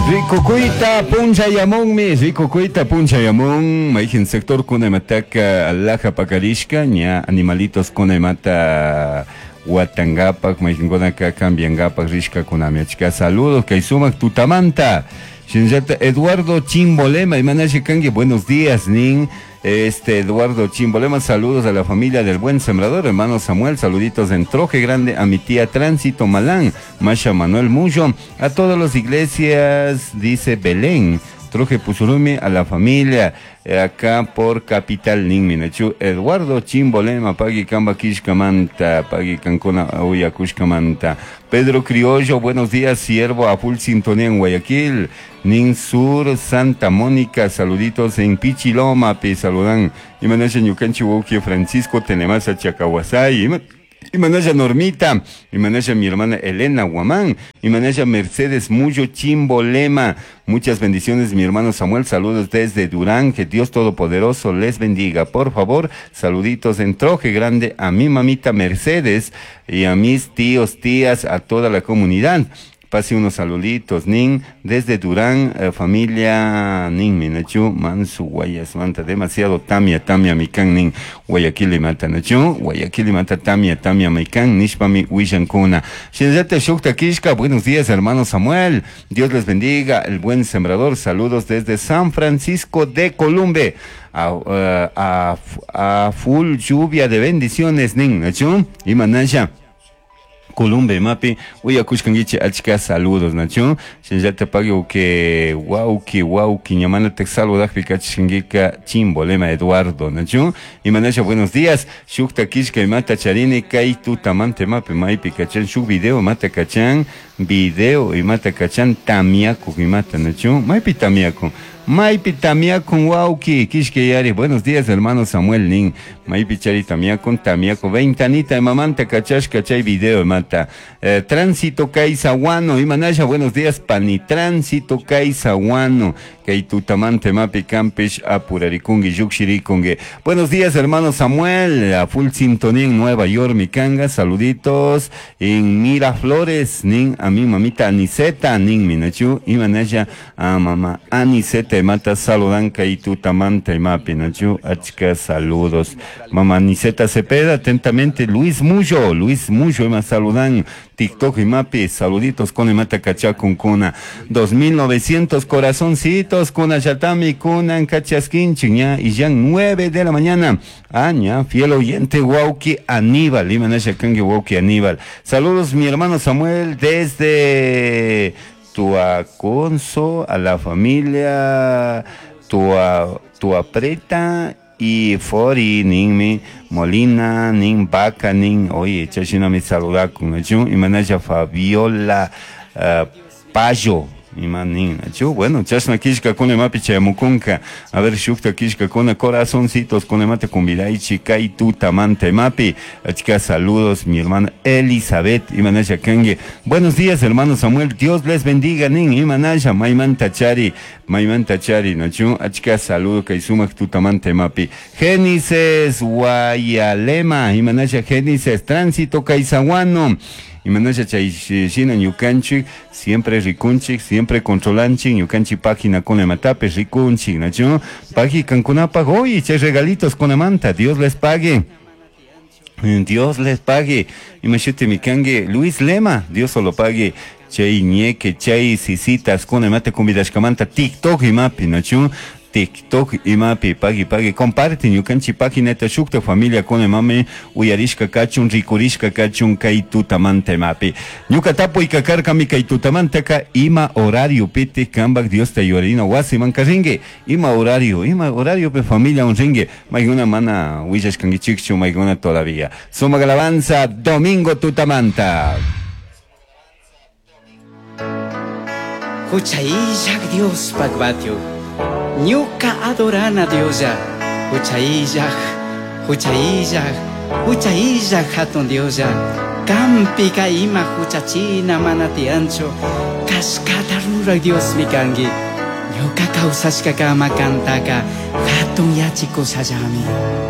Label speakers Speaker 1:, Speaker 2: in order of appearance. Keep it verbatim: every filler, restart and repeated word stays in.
Speaker 1: Rikukuyta punchayamunmi, rikukuyta punchayamun, mayqin sector kunamataka alhaja pakarishka, ña animalitos kunamata watangapak, mayqinkunaka cambiangapak rishkakunami. Achka saludos kay sumak tutamanta. Shinallata Eduardo Chimbolema, imanasha kanki, buenos días, nin. Este Eduardo Chimbolema, saludos a la familia del buen sembrador, hermano Samuel, saluditos en Troje Grande, a mi tía Tránsito Malán, Masha Manuel Mullo, a todas las iglesias, dice Belén, Troje Pusurumi, a la familia, eh, acá por Capital Ninminachu, Eduardo Chimbolema, Pagui Kamba Kishkamanta, Pagui Cancuna Uyakushkamanta, Pedro Criollo, buenos días, siervo a full sintonía en Guayaquil, Nin Sur, Santa Mónica, saluditos en Pichiloma, pi saludan, Imanasha Ñukanchi Wauki Francisco Tenemasa Chacahuasay, Imanasha Normita, Imanasha mi hermana Elena Guamán, Imanasha Mercedes Mullo Chimbolema, muchas bendiciones mi hermano Samuel, saludos desde Durán, que Dios Todopoderoso les bendiga, por favor, saluditos en Troje Grande a mi mamita Mercedes y a mis tíos, tías, a toda la comunidad. Pase unos saluditos, Nin, desde Durán, eh, familia Nin, Minachu, Mansu, Guayas, Manta, demasiado Tamia, Tamia, Mikan, Nin, Guayaquil, Mata, Nachu, Guayaquil, Mata, Tamia, Tamia, Mikan, Nishpami, Wishankuna. Shinzate Shukta Kishka, buenos días, hermano Samuel, Dios les bendiga, el buen sembrador, saludos desde San Francisco de Columbe. A, a, a, a full lluvia de bendiciones, Nin, Nachu, y Manasha. Columbe mapi uyakushkankichik achka saludos nachu shinallata pagui que wauki wauki ñamana te saludajpi kachishkankika Chimbolema Eduardo nachu imanasha buenos días shukta kishka imata charini kay tutamante mapi maypi kachan shuk video mata kachan video imata kachan tamiaku imata nachu maypi tamiaku maypi tamiakun wauki kishka yari buenos días hermano Samuel nin maypi chari tamiakun tamiaku ventanita imamanta kachashka chay video imata eh, tránsito Kaisaguano imanasha buenos días pani tránsito Kaisaguano kay tutamante mapi campish apurarikungi yukshirikungi buenos días hermano Samuel a full sintonía en Nueva York mikanga saluditos en Miraflores nin a mi mamita Aniceta nin minachu imanasha a mamá Aniceta mata saludan kay tutamante mapi nachu achka saludos mamá Aniceta Cepeda atentamente Luis Mullo Luis Mullo ima saludan TikTok y mapi saluditos con mata kachakun kuna dos mil novecientos corazoncitos kuna yatami kunan kachaskinchik ña y ya nueve de la mañana aña fiel oyente Wauki Aníbal imanasha kanki Wauki Aníbal saludos mi hermano Samuel desde Tuaconso a la familia Tua Tuapreta y Fori nin mi Molina nin Vaca nin oye chashina mi saludakun nachu imanasha Fabiola uh, Payo imanin nachu bueno chashna kishkakuna imapi chayamukunka a ver shukta kishkakuna corazoncitos kunamata kumbidaychik kay tutamanta imapi achka saludos mi hermana Elizabeth imanasha kanki buenos días hermano Samuel Dios les bendiga nin imanasha maymanta chari maymanta chari nachu achka saludo kay sumak tutamanta imapi Génices Guayalema imanasha Génices tránsito Kaisaguano imanasha chay shina ñukanchik siempre rikunchik siempre controlanchik ñukanchik página kunamatapi rikunchik nachu pagi kankunapaj hoy chay regalitos kunamanta Dios les pague Dios les pague imashuti mikanki Luis Lema Dios solo pague chay ñeque chay sisitas kunamata kumbidashkamanta TikTok imapi nachu TikTok imapi pagui pagui comparte ñukanchik paginata shukta familia kunamami uyarishka kachun rikurishka kachun kay tutamanta imapi ñuka tapuyka karkami kay tutamantaka ima horario piti kambak Diosta yuyarina wasiman rinki ima horario ima horario pe familia un rinki maykuna mana willashkankichikchu maykuna todavía sumak alabanza domingo tutamanta
Speaker 2: Huchayllak Dios pagbatio ñuka adorana Diosa huchayllak huchayllak huchayllak hatun Diosa kampika ima huchachina mana tiyanchu kashkata rurak Diosmi kanki ñuka kawsashkakama kantaka hatun yachikushallami.